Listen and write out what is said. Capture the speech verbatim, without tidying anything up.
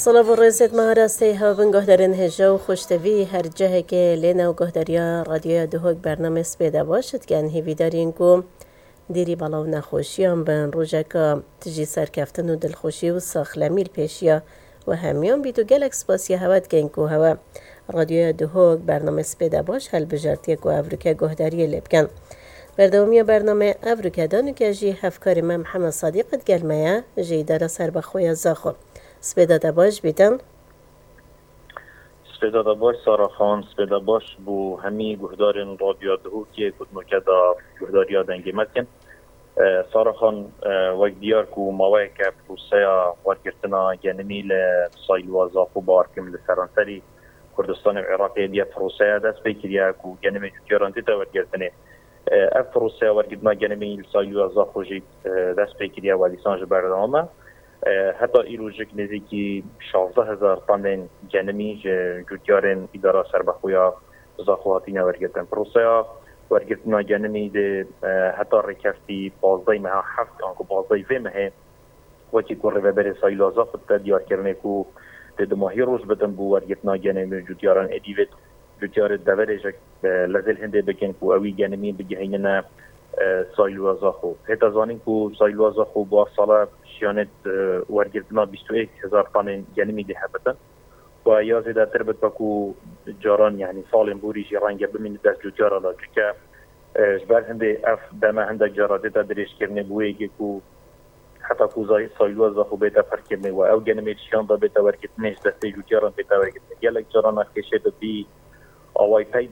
Silav û rêzêt me rastey hev bin guhdarên hêja û xweştevî her cihekê lê nav guhdariya Radyoya Duhok bername Spêda Baş dikin. Hêvîdarîn ku dêrî bala û nexweşiyan bin, rojeka tijî serkeftin û dilxweşî û saxlemî li pêşiya we hemiyan bît û gelek spasiya hewe dikin ku hewe Radyoya Duhok bername Spêda Baş helbijartiye ku evroke guhdariyê lê bikin. Berdewamiya bername evroke danûke jî hevkarê me Mihemed Sadiq digel me ye ji Îdara Serbexwe ya Zaxo. Spêda te baş bîtin. Spêda te baş Sara Xan, spêda baş bo hemî guhdarên Radyoya Duhokê ku di noke de guhdariya dengê me dikin. E, Sara Xan, e, wek diyar ku maweyeke proseya wergirtina genimî li Sayluwa Zaxo bawer kim li seranserî Kurdistanê û Iraqê diye proseya dest pê kiriye ku genimê cûtyaran tête wergirtinê. E, ev proseya wergirtina genimî li Sayluwa Zaxo jî, e, dest pê kiriye we dîsan ji berdewam e. E, heta îrojik nêzîkî şazdeh hezar tanên genimî ji cûtyarên Îdara Serbexwe ya Zaxo hatine wergirtin. Proseya wergirtina genimî dê, e, heta rêkefta pazdehê meha heft anku pazdehê vê mehê, wekî ku rêveberê Saylo Zaxo dide diyarkirinê ku dê dumahî roj bidin bo wergirtina genimî û cûtyaran êdî vê cûtyarê deverê ji, e, Lezêl Hindê bikin ku ewî genimî bigihînine, e, Sayluwa Zaxo. Hête zanîn ku Sayluwa Zaxo bo ev sala şiyanê, e, wergirtina bîst û yek hezar tanên genimî dê hebitin. Û ya zêdetir bit ku caran, yanî salên borî jî renge bimîne dest cûtyara de. Çunke, e, ji ber hindê ev deme hindek cara dête dirêjkirinê bo yekê ku heta ku Zay-, Sayluwa Zaxo bête pirkirinê û ew genimê şiyan de bête wergirtinê ji destê cûtyaran bête wergirtinê. Gelek caran ev kêşe bi vî awayî pey